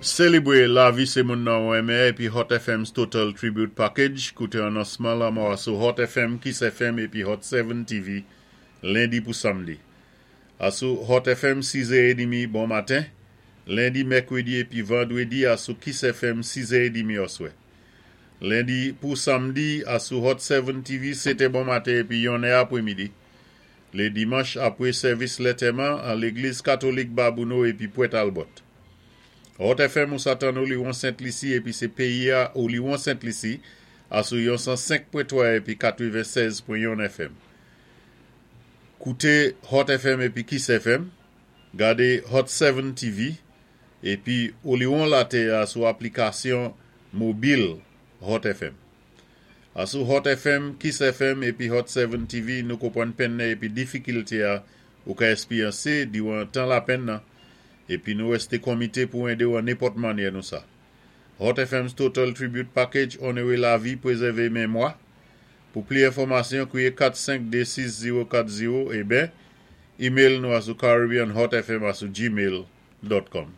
Sélébwé lavi sé moun-nan ou renmen épi Hot FM's Total Tribute Package. Kouté anonsman lanmò sou Hot FM, Kiss FM épi Hot 7 TV lendi pou samdi. Asou Hot FM 6h30 bon maten, lendi, mèkwédi épi vandwédi asou Kiss FM 6h30 oswè. Lendi pou samdi asou Hot 7 TV 7 bon maten épi 1 apwémidi. Lé dimanch apwé sèvis lantèman an légliz katolik Babouno épi Pwent Albert. Hot FM ou sa tann Oliwon Sent Lisi épi sé péyi-a Oliwon Sent Lisi asou yon 105.3 épi 96.1 FM. Kouté Hot FM épi Kiss FM, gadé Hot 7 TV épi Oliwon Latè sou aplikasyon mobil Hot FM. Asou Hot FM, Kiss FM épi Hot 7 TV nou konpwann penn-nan épi difikilté-a ou ka èspéryansé diwan tan lapenn-nan épi nou wèsté konmité pou édé-w an nenpòt mannyè nou sa. Hot FM's Total Tribute Package onoré lavi, pwézèvé mémwa. Pou pli enfòmasyon, kwiyé 4526040 é ben, email nou asou caribbeanhotfm@gmail.com.